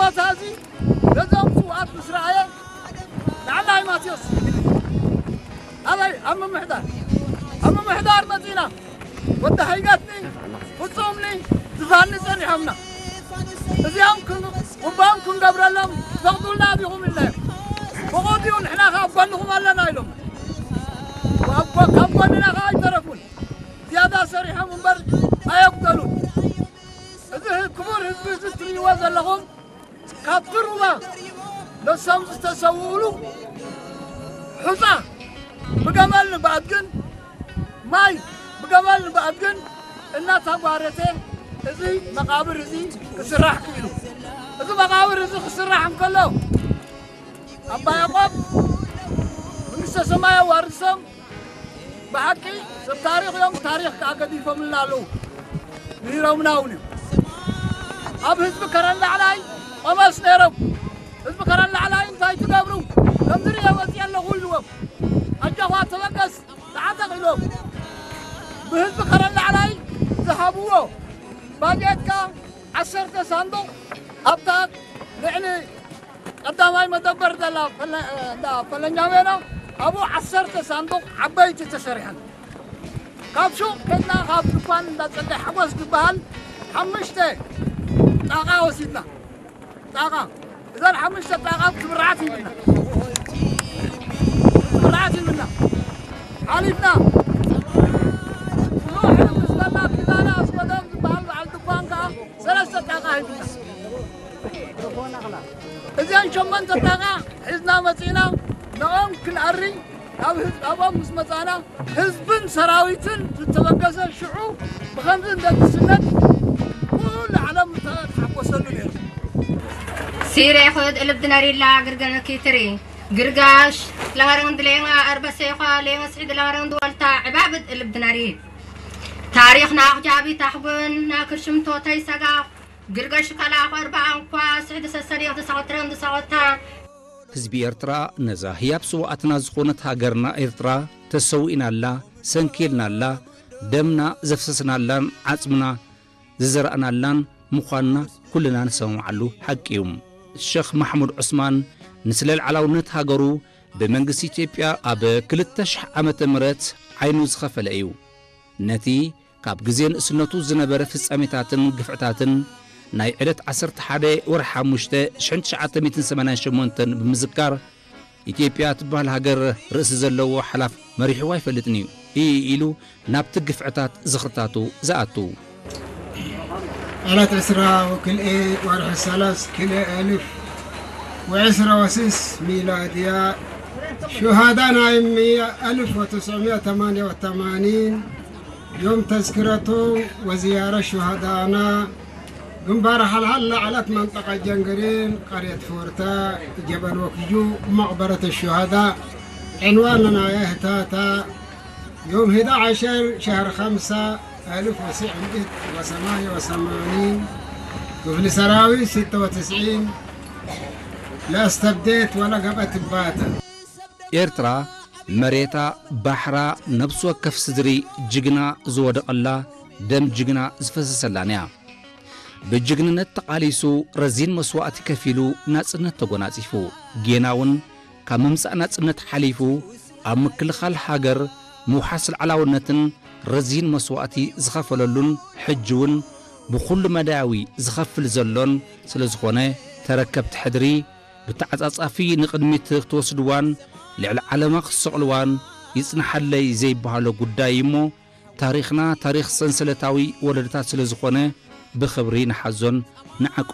እዚ ነዞም ስውኣት ምስ ረኣየ ንዓና እዩ ማቴዎስ። ኣበይ? ኣብ ምምሕዳር፣ ኣብ ምምሕዳር መጺና። ወዲ ሃይገትኒ ፍጹምኒ ዝፋኒ ጸኒሖምና። እዚኦም ክን-፣ ቁባም ክንገብረሎም ትፈቕዱልና ዲኹም ኢልናዮም። ፈቐዱ፣ ንሕና ከኣ ኣብ ጎንኹም ኣለና ኢሎም። ኣብ ጎ-፣ ካብ ጎንና ከኣ ኣይተረፉን። ዝያዳ ሰሪሖም እምበር ኣየጉደሉን። እዚ ክቡር ህዝቢ እዚ እትርእይዎ ዘለኹም ካብቲ ሩባ ነሶም ዝተሰውኡሉ ሑጻ ብገመል ንብኣድግን ማይ ብገመል ንብኣድግን እናተጓረተ እዚ መቓብር እዚ ክስራሕ ክኢሉ። እዚ መቓብር እዚ ክስራሕ እንከሎ ኣባ ያዕቆብ መንግስተ ሰማይ ኣዋርሶም ብሓቂ ሰብ ታሪኽ እዮም፣ ታሪኽ ከኣ ገዲፎምልና ኣለዉ። ምሂሮምና እውን እዮም። ኣብ ህዝቢ ከረን ላዕላይ ቆመስ ነይሮም። ህዝቢ ከረን ላዕላይ እንታይ ትገብሩ? ከምዚ ርእየ መፅእ ኣለኹ ኢልዎም። ኣጆኻ ተበገስ፣ ተዓጠቕ ኢልዎም። ብህዝቢ ከረን ላዕላይ ዝሃብዎ ባጀት ከኣ ዓሰርተ ሳንዱቕ ኣብታ ልዕሊ ቀዳማይ መደበር ዘላ ፈለ-፣ እንዳ ፈለኛ ሜዳ ኣብኡ ዓሰርተ ሳንዱቕ ዓበይቲ ተሰሪሐን። ካብ ሹቕ ከድና ካብ ድኳን እንዳ ጸጋይ ሓጎስ ዝበሃል ሓሙሽተ ጣቓ ወሲድና። ጣቓ፣ እዘን ሓሙሽተ ጣቓ ትብርዓት ሂብና። ትብርዓት ሂብና። ሓሊፍና። ኖሕ ምስ በላ ኪዳነ ኣስገዶም ዝበሃል በዓል ድኳን ከኣ ሰለስተ ጣቓ ሂብና። እዚኣን ሸሞንተ ጣቓ ሒዝና መጺእና፣ ንኦም ክንኣሪ ኣብ ህዝ-፣ ኣብኦም ምስ መጻና፣ ህዝብን ሰራዊትን ዝተበገሰ ሽዑ ብኸምዚ እንደግስነት ኩሉ ዓለም ዝተሓጎሰሉ ነይሩ። ሲሬ ኹድ እልብ ድነሪላ ግርገነ ኪትሪ ግርጋሽ ለኸረን ድሌማ ኣርበሴ ኳ ሌመ ስዒድ ለኸረን ድወልታ ዕባብድ እልብ ድነሪ ታሪኽና ኣኽጃቢ ታሕጉን ናክርሽምቶተይ ሰጋ ግርገሽ ከላኹ ኣርባዓን ኳ ስዕዲ ሰሰሪቕ ድሰኸትረን ድሰኸታ ህዝቢ ኤርትራ ነዛ ህያብ ስውኣትና ዝኾነት ሃገርና ኤርትራ ተሰዊእናላ፣ ሰንኪልናላ፣ ደምና ዘፍሰስናላን ዓጽምና ዝዘራእናላን ምዃንና ኩልና ንሰማምዓሉ ሓቂ እዩ። ሸኽ ማሕሙድ ዑስማን ንስለ ልዓላውነት ሃገሩ ብመንግስቲ ኢትዮጵያ ኣብ ክልተ ሽሕ ዓመተ ምህረት ዓይኑ ዝኸፈለ እዩ። ነቲ ካብ ግዜ ንእስነቱ ዝነበረ ፍጻሜታትን ግፍዕታትን ናይ ዕለት ዓሰርተ ሓደ ወርሒ ሓሙሽተ ሽሕን ትሽዓተ ሚእትን ሰማንያን ሸሞንተን ብምዝካር፣ ኢትዮጵያ ትበሃል ሃገር ርእሲ ዘለዎ ሓላፍ መሪሕዋ ኣይፈልጥን እዩ ኢሉ ናብቲ ግፍዕታት ዝኽርታቱ ዝኣቱ። ዕለት ዕስራ ወክልኤ ወርሒ ሰለስ ክልኤ ኣልፍ ወዕስራ ወስስ ሚላድያ ሹሃዳ ናይ ሚያ ኣልፍ ወትስዕምያ ተማንያ ወተማኒን ዮም ተዝክረቶም ወዝያረ ሹሃዳና ግንባር ሓልሓል ለዓለት መንጠቐ ጀንግሪን ቀርየት ፎርታ ጀበል ወክዩ መቕበረት ሹሃዳ ዕንዋን ናይ ህታታ ዮም ህዳ ዓሸር ሸህር ኸምሳ ኣልፍ ወስዕ ምእት ወሰማንያ ወሰማኒን ክፍሊ ሰራዊት ስተ ወትስዒን ለእስተብዴት ወለገበት ባተ። ኤርትራ መሬታ፣ ባሕራ፣ ነብሲ ወከፍ ስድሪ ጅግና ዝወደቐላ፣ ደም ጅግና ዝፈሰሰላን እያ። ብጅግንነት ተቓሊሱ፣ ረዚን መስዋእቲ ከፊሉ ናጽነት ተጎናጺፉ። ጌና እውን ካብ ምምጻእ ናጽነት ሓሊፉ፣ ኣብ ምክልኻል ሃገር፣ ምውሓስ ልዓላውነትን ረዚን መስዋእቲ ዝኸፈለሉን፣ ሕጂ እውን ብኹሉ መዳያዊ ዝኸፍል ዘሎን ስለ ዝኾነ፣ ተረከብቲ ሕድሪ ብተዓጻጻፊ ንቕድሚት ክትወስድዋን ልዕሊ ዓለማ ክትሰቕልዋን ይጽንሓለይ ዘይበሃሎ ጉዳይ እዩ እሞ፣ ታሪኽና ታሪኽ ሰንሰለታዊ ወለዶታት ስለ ዝኾነ፣ ብኽብሪ ንሓዞን ንዓቅቦን።